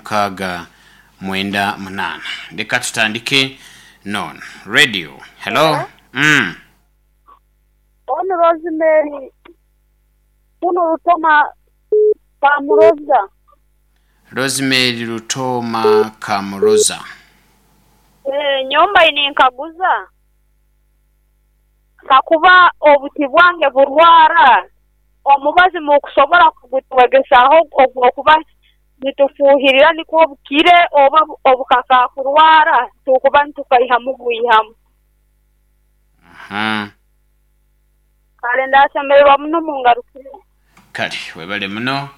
Mukaaga mwenda munaana. Leka tutandike n'ono. Radio, hello? Hello. Mm. Onu Rosemary kunu Rutoma Kamuroza. Rosemary Rutoma Kamuroza. Nyomba ninkaguza kakuba obuti bwange burwara, omubazi mukusobora kugutwegesaaho ogw'okuba nitufuuhirira nikwo bukire oba obukakaakurwara tukuba nitukaihamu bwihamu? Aha. Kale ndasemererwa muno mungarukire. Kale webale muno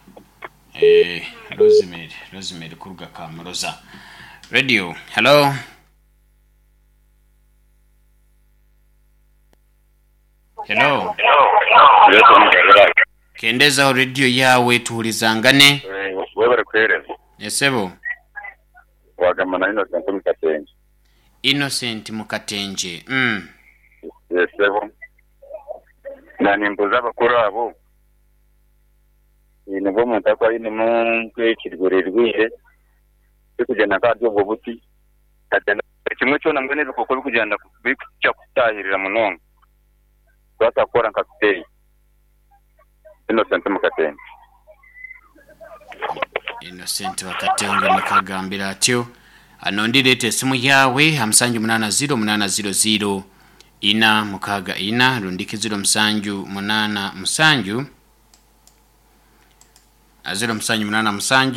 eh, Rosemary, Rosemary kuruga Kamuroza. Radio, hello? Hello? Kendezaho radio yawe tuhurizangane. Webale kuheereza. Esebo. Wagamba na Innocent Mukatenje. Innocent Mukatenje. Esebo. Nanimbuza abakuru abo. Nibwo omuntu akuba ainemu nk'ekirwerirwire kirikugyenda nk'ahari obwo buti kagyenda kimwe kyona mbwenu ebikooko birikugyenda birikukya kutahirira munonga kubaasa kukora nka spray. Innocent Mukatenje. Innocent Bakatenge nikagambira atyo. Anondi leeta esimu yawe ha 780 800 464 rundiki 0787 0787 74 96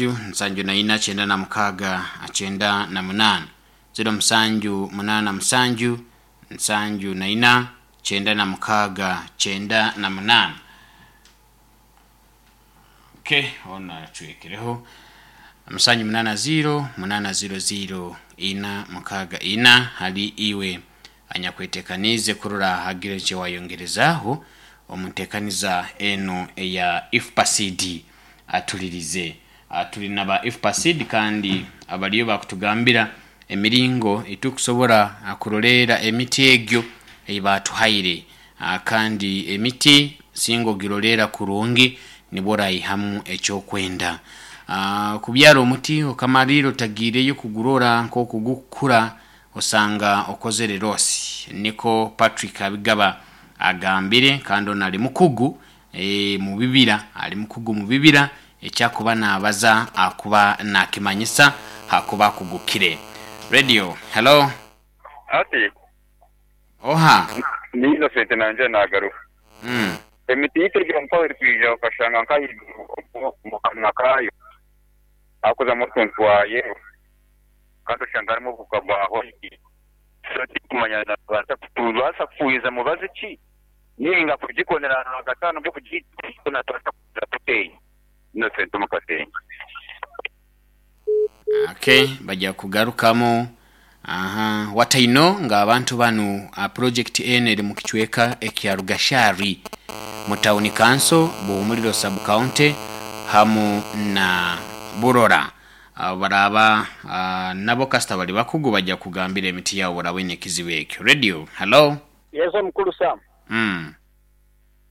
0787 74 96 98. Okay, ona twekereho 780 800 464 hali iwe anyakwetekanize kurora hagire kye wayongerezaho omuntekaniza eno eya IFPACD atulirize. Tuli naba IFPACD kandi abaliyo bakutugambira emiringo etukusobora kuroleera emiti egyo eibatuhaire, kandi emiti singa ogiroleera kurungi nibwo orayihamu ekyokwenda. Kubyara omuti okamalira otagiireyo kugurora nk'okugukura osanga okozere losi. Niko Patrick Abigaba agambire, kandi ono ali mukugu mu bibira, ali mukugu mu bibira, ekyakuba nabaza akuba nakimanyisa hakuba akugukire. Radio, hello? Ati Oha. Ni Innocent nanje nagaruka. Emiti yitirigira mpaho erikwija okashanga nk'ahaiguru omu kanwa kaayo hakuzamu otuntu twa yero kandi oshanga harimu obuhuka bwa white. So tirikumanya tubaasa kufuuhiza mubazi ki ninga kugikonera ahagati nabwo tubaasa kugira tuteyi. Innocent Mukatenje. Okay, bajja kugarukamu. Aha, wataino nga abantu banu project eno eri mu kicweka ekya Rugashari mu town council Buhumuriro sub county hamu na Burora. Baraba nabo kasita bali bakugu bajja kugambira emiti yaabo barabone ekizibu ekyo. Radio, hello? Yes, mukulu Sam.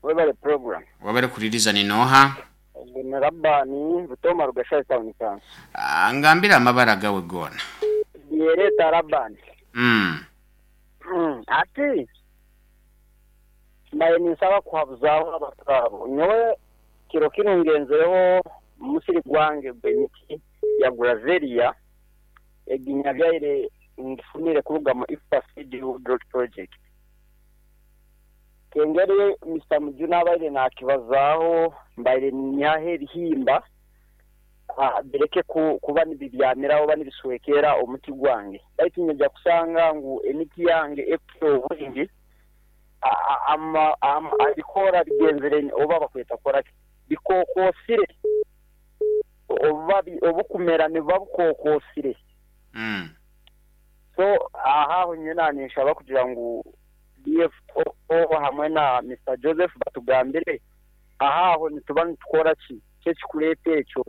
Webale program. Wabale kuliriza ni noha? Ni Rabani Rutoma Rugashari town council. Ngambira amabara gawe gona. Yereta Rabani. Ati mbaye ninsaba kuhabuzaho abatwabo. Nyowe kiro kino ngenzereho musiri gwange gw'emiti ya Gravelia eginyabyaire ngifunire kuruga mu IFPACD Drought Project. Kengeri Mr. Mujuna abaire nakibazaho mbaire nyahe ebihimba bireke kuba nibibyamira oba nibiswekera omuti gwange. Baitu nja kusanga ngu emiti yange ekufuna obwingi abikora bigenzere oba bakweta kora bikokosire oba obukumera nibuba bukokosire. So ahaho nyina ninshaba kugira ngu DFO hamwe na Mr. Joseph batugambire ahaho nituba nitukora ki kyekikureta ekyo.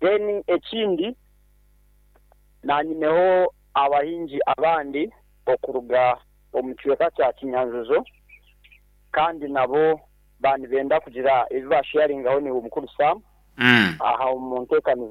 Then ekindi nanyineho abahingi abandi okuruga omu kicweka kya Kinyanjuzo kandi nabo banibenda kugira ebi basharingaho ni omukuru Sam. Aha omu nteekanizo.